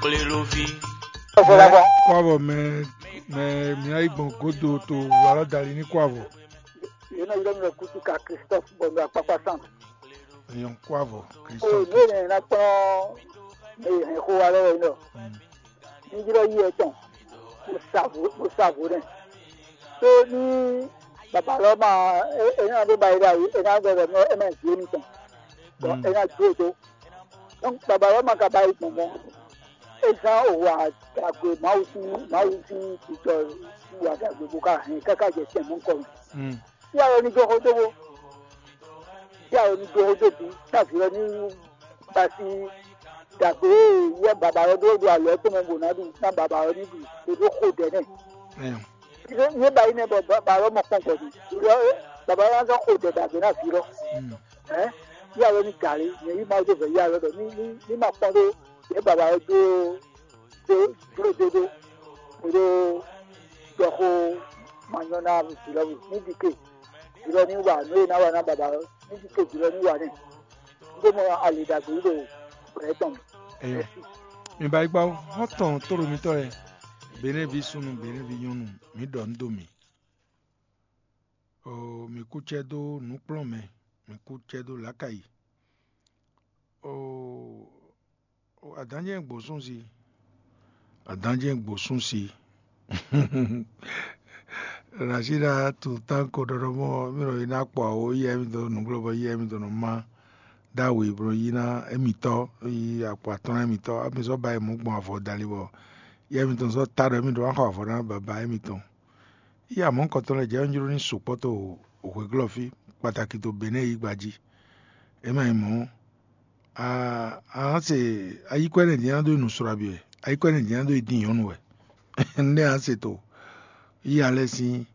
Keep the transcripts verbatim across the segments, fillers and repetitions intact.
Kléloví. Kó avɔ mɛ mɛ mǐ yi gbɔn godo to alɔ dali ní kó avɔ. Yě nɔ ylɔ́ mi ɖɔ Kutuka Christophe bɔ ɖo akpakpa san. Èèyàn kó avɔ. O Christophe. Ní ènìyàn ná kplɔ́n ní hɛn xó wa lọ́wọ́ yìí nɔ. Ní ylɔ́ yí ẹ tɔn bó sa vo bó sa vo nɛ. Tó ní bàbá lɔ ma ẹ ẹ náà bó ba yi ɖe ayi ẹ náà gbẹdọ mọ ẹ má zé mi tɔn. Bɔ ẹ ná dó dó. Donc bàbá lɔ ma ka ba yi gbɔn mɔ. É zán wǎ dagbe Mawu sín Mawu sín titɔ wǎ dagbe bó ká hɛn káká jɛ tɛn mɔ kɔ mɛ. Tí a yɔ ní dó xó dó bó. Tí a yɔ ní dó xó dó bú. Tá vǐ lɔ ní ba sí dagbe yɛ bàbá lɔ dó ɖo alɔ tɔn mɛ bò ná ɖu ná bàbá lɔ ní ɖu. Bó dó xó dɛ nɛ. Yé ba yi nɛ bɔ bàbá lɔ mɔ kpɔn gbɔ dì. Bàbá lɔ ná zɔn xó dɛ dagbe ná vǐ lɔ. Ɛ yí alɔ ní gǎlé nyɛ yí Mawu dó vɛ yí alɔ ɖɔ ní ní ní ma kpɔn ɖó yě baba ɔ́ dó dó dó dó dó dó ɖɔ xó ma nyɔ ná vǐ lɔ ní ɖi ke vǐ lɔ ní wa nú é ná wa ná baba ɔ́ ní ɖi ke vǐ lɔ ní wa nɛ. Dó mɔ ali ɖagbe yí ɖo gbɛ tɔn mɛ. Eyɔ. Mi ba yi gba xɔ́ntɔn tóɖo mitɔ́ lɛ́ɛ, Benɛ́vi súnnu, Benɛ́vi nyɔ́nu, mǐ ɖɔ nǔ dó mi. Oo, mǐ kú cɛ dó nǔkplɔ́nmɛ, mǐ kú cɛ dó lǎkayi. Oo, adǎn jɛ́n gbǒsúnsi, adǎn jɛ́n gbǒsúnsi. Rashida to tán ko ɖɔɖɔ mɔ mí nɔ yi ná kpɔ awo yɛ mí dó nǔglɔ́ bɔ yɛ mí dó nɔ má dó awu yi bó nɔ yi ná émítɔ́ yi akpɔ atɔ́ ná émítɔ́, émí sɔ́ ba yi mǔ gbɔn avɔ dali bɔ yɛ mí tɔn sɔ́ ta ɖɔ émí ɖó ná xɔ avɔ ná baba émítɔ́. Yí amɔ̌ kɔntɔn lɛ́ɛ jɛ ɔ́ jló ní sukpɔ́ to hweglɔ́ fí, kpataki to Benɛ́ɛ yígba jí. É ma nyí mɔ̌, a a nǎ se ayíkúɛ́ nɛ́ din ná dó yi nǔ slɔ́ abí wɛ, ayíkúɛ́ nɛ́ din ná dó yi dín nyɔ̌nu wɛ. Nɛ́ ǎ se to yí alɛ sín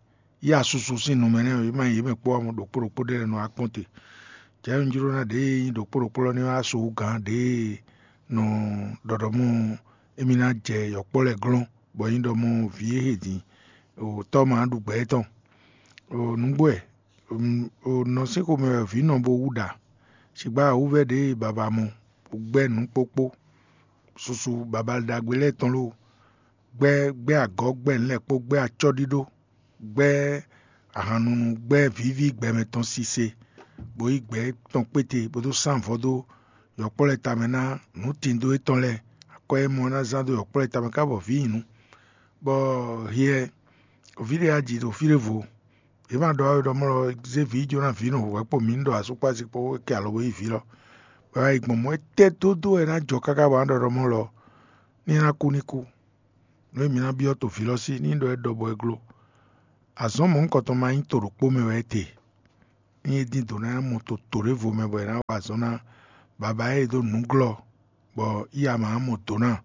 yí asusu sín nu mɛ nɛ́ é ma nyí yě mɛ kpó ɔ́, ɖokpó ɖokpó ɖé lɛ́ɛ nɔ wá kpɔ́n te. Jɛ ɔ́ jló ná ɖě e nyí ɖokpó ɖokpó lɔ ní wá so gǎn ɖě e nɔ ɖɔɖɔmɔ émí ná jɛ yɔ̌kpɔ́ lɛ́ɛ glɔ́n, bɔ nyí ɖɔ mɔ vǐ e he din o tɔ́ ma ɖu gbɛ étɔn. O nǔgbó wɛ, o nɔ sín xomɛ wɛ vǐ nɔ bo wú ɖa. Sigbá wǔvɛ́ ɖě e baba mɔ, gbɛ́ nǔ kpókpó, susu baba ɖagbe lɛ́ɛ tɔn lóo, gbɛ́ gbɛ́ agɔ̌ gbɛ́ nǔ lɛ́ɛ kpó gbɛ́ acɔ́ ɖíɖó, gbɛ́ ahannunu gbɛ́ vǐví gbɛmɛ tɔn sise, bó yí gbɛ̌ tɔn kpéte bó dó sán vɔ̌ dó yɔ̌kpɔ́ lɛ́ɛ tamɛ ná nǔtindo étɔn lɛ́ɛ, akɔ e mɔ ná zán dó yɔ̌kpɔ́ lɛ́ɛ tamɛ ká bɔ vǐ nyi nǔ. Bɔ hiɛ vǐ ɖé aji ɖo fí ɖěvo, yě ma ɖɔ wɛ ɖɔ mɔ lɔ zé vǐ jó ná vǐ nɔ hwɛ̌ kpo mǐ ní ɖɔ asúkpási kpó é kɛ alɔ bó yí vǐ lɔ, bɔ é wá yi gbɔn mɔ̌ étɛ́ dódó wɛ ná jɔ káká bɔ ná ɖɔ ɖɔ mɔ lɔ ní é ná kú ní kú. Nǔ e mǐ ná byɔ́ to vǐ lɔ sí ní ɖɔ é ɖɔ bɔ é gló. Azɔ̌ mɔ̌hunkɔtɔn ma nyí to ɖokpó mɛ wɛ é te. Ní é dín dǒ ná mɔ to to ɖěvo mɛ bɔ è nǎ wa azɔ̌ ná baba e dó nǔglɔ́ bɔ yí ama ná mɔ dǒ ná.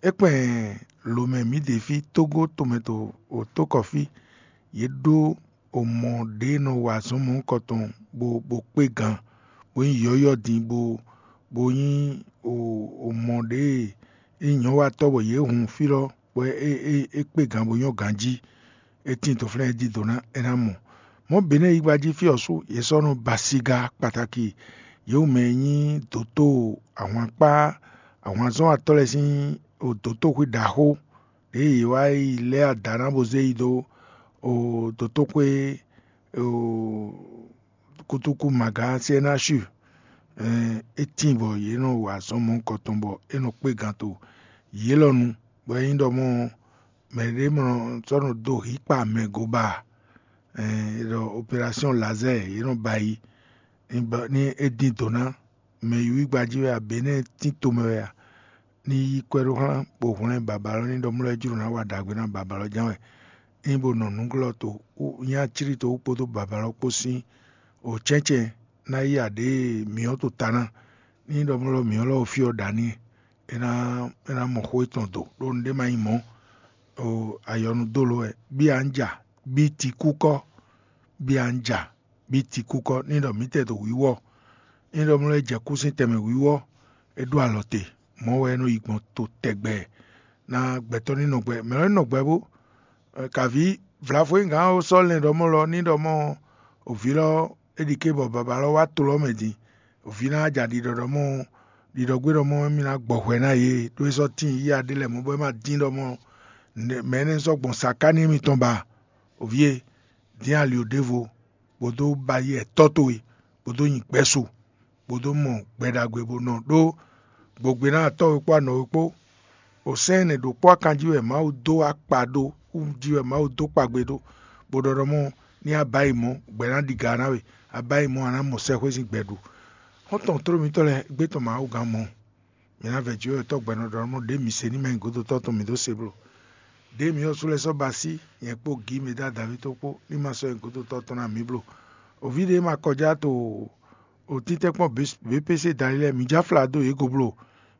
É kpɛn lǒmɛ mǐ ɖe fí tógó tomɛ to wǒtókɔ́ fí, yě ɖó omɔ ɖě nɔ wa azɔ̌ mɔ̌hunkɔtɔn bó bó kpé gan, bó nyí yɔ̌yɔ́ din bó bó nyí omɔ ɖě e nyɔ̌watɔ́ bɔ yě hun fí lɔ bɔ é kpé gan bó nyɔ́ ganjí. É tín toflɛ́n é dídó ná é ná mɔ. Mɔ̌ Benɛ́ɛ yígbá jí fí ɔ́ sú yě sɔ́ nɔ ba siga kpataki yě wú mɛ e nyí dǒtó ahwankpá ahwanzɔ́watɔ́ lɛ́ɛ sín dǒtóxwé ɖaxó ɖě yě wá yi lɛ́ ada ná bó zé yi dó dǒtóxwé kutuku maga C N H U. É tíin bɔ yě nɔ wa azɔ̌ mɔ̌hunkɔtɔn bɔ é nɔ kpé gan to yě lɔ nu, bɔ é nyí ɖɔ mɔ mɛ ɖé mɔ sɔ́ nɔ dó hǐkpa mɛ goba, è ɖɔ opération laser yě nɔ ba yi ní é dín dǒ ná mɛ yíwí gbají wɛ a bě nɛ́ tín tomɛ wɛ a? Ní yí kwɛ́ ɖó xlán bó hwlɛ́n baba lɔ ní ɖɔ mlɔ́ é jló ná wa ɖagbe ná baba lɔ ján wɛ. Ényí bó nɔ nǔglɔ́ to nyí aclí to wú kpódó baba lɔ kpó sín o cɛ́ncɛ́n ná yí aɖě mǐ ɔ́ to ta ná. Ní ɖɔ mlɔ́ mǐ ɔ́ lɔ fí ɔ́ ɖa n'i, é ná é ná mɔ xó étɔn do ɖó nǔɖé ma nyí mɔ̌. O ayɔnu dó lo wɛ bí a ń jà bí tikúkɔ bí a ń jà bí tikúkɔ ní ɖɔ mǐtɛɛ ɖo wǐwɔ. Ní ɖɔ mlɔ́ é jɛ kú sín tɛnmɛ wǐwɔ, é ɖó alɔ te, mɔ̌ wɛ é nɔ yi gbɔn to tɛgbɛ ná gbɛtɔ́ ní nɔ gbɛ mɛ lɔ ní nɔ gbɛ bó. Kavǐ vlafo e gǎn ɔ́ sɔ́ lɛn ɖɔ mɔ lɔ ní ɖɔ mɔ òvǐ lɔ é ɖi ké bɔ baba lɔ wá to lɔ mɛ din. Òvǐ ná ja ɖiɖɔ ɖɔ mɔ ɖiɖɔgbé ɖɔ mɔ mì ná gbɔ hwɛ ná yě, ɖó é sɔ́ tíin yíyá ɖé lɛ́ɛ mɔ̌ bɔ é ma dín ɖɔ mɔ mɛ énɛ́ sɔ́ gbɔn sakáni émítɔn ba. Oví e, dín ali ɖěvo, bó dó ba yi ɛtɔ́ towe, bó dó nyi gbɛ́ su, bó dó mɔ gbɛ ɖagbe bó nɔ ɖó gbogbe ná atɔ́ we kpó anɔ we kpó. O sɛ́n ɛnɛ ɖokpó akan jí wɛ Mawu dó akpa ɖó, wú jí wɛ Mawu dó kpagbe ɖó, bó ɖɔ ɖɔ mɔ ní a ba yi mɔ̌, gbɛ ná ɖi ga ná we, a ba yi mɔ̌, a nǎ mɔ sɛxwé sín gbɛ ɖu. Xɔ́ntɔn tló mitɔ́ lɛ́ɛ, égbé tɔn Mawu gán mɔ̌. Mǐ ná vɛ jǐ wɛ tɔ́ gbɛnɔ ɖɔ mɔ ɖě mǐ se ní ma nyí gǒdotɔ́ tɔn mǐ dó se bló. Ɖěe mǐ ɔ́ sú lɛ́ɛ sɔ́ ba sí nyɛ kpó Gǐ Mɛdádaví tó kpó ní ma sɔ́ nyɛ gǒdotɔ́ tɔn ná mǐ bló. Oví ɖé ma kɔjá to o títɛ́nkpɔ́n B P C dali lɛ́ɛ, mǐ já fla dó yě go bló.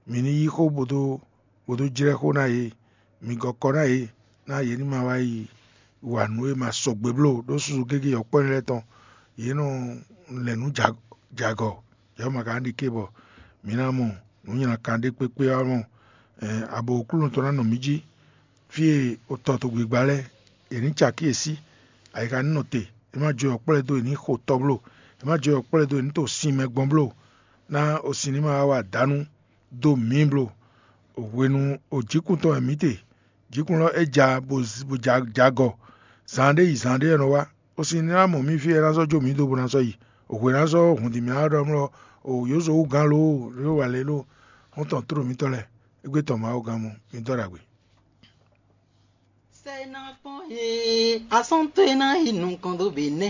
Mǐ ní yí xó bó dó bó dó jlɛ́ xó ná yě. Mǐ gɔ́ kɔ ná yě, ná yě ní ma wá yi wa nǔ e ma sɔgbe bló ɖó susu gégé yɔkpɔ́ lɛ́ɛ tɔn. Yě nɔ lɛ̌ nǔ jagɔ, yě ma ka ɖi ké bɔ mǐ ná mɔ nǔ nylá kan ɖé kpékpé ɔ́ mɔ. Abo Aklúnɔ tɔn ná nɔ mǐ jí. Fí e è tɔ togbigba lɛ́ɛ, è nǐ cakí yě sí, ayixa ní nɔ te. È má jó yɔkpɔ́ lɛ́ɛ dó è ní xo tɔ bló. È má jó yɔkpɔ́ lɛ́ɛ dó è ní to sin mɛ gbɔn bló. Ná o sin ní ma wá wa dǎnú dó mǐ bló. Hwenu o jǐkún tɔn wɛ mǐ te. Jǐkún lɔ é ja bó jagɔ. Zan ɖé yi zan ɖé wɛ nɔ wá. O sin ní ná mɔ mǐ fí e é ná sɔ́ jó mǐ dó bó ná sɔ́ yi. Hwě ná sɔ́ hǔn din mǐ ná ɖɔ mlɔ o yǒzo wú gán loo ló wà lě ló. Xɔ́ntɔn tló mitɔ́ lɛ́ɛ, égbé tɔn Mawu gán mɔ mi dɔ́ ɖagbe. Sɛ ná kpɔn he asɔ́n tó e ná yi nukɔn dó be nɛ́.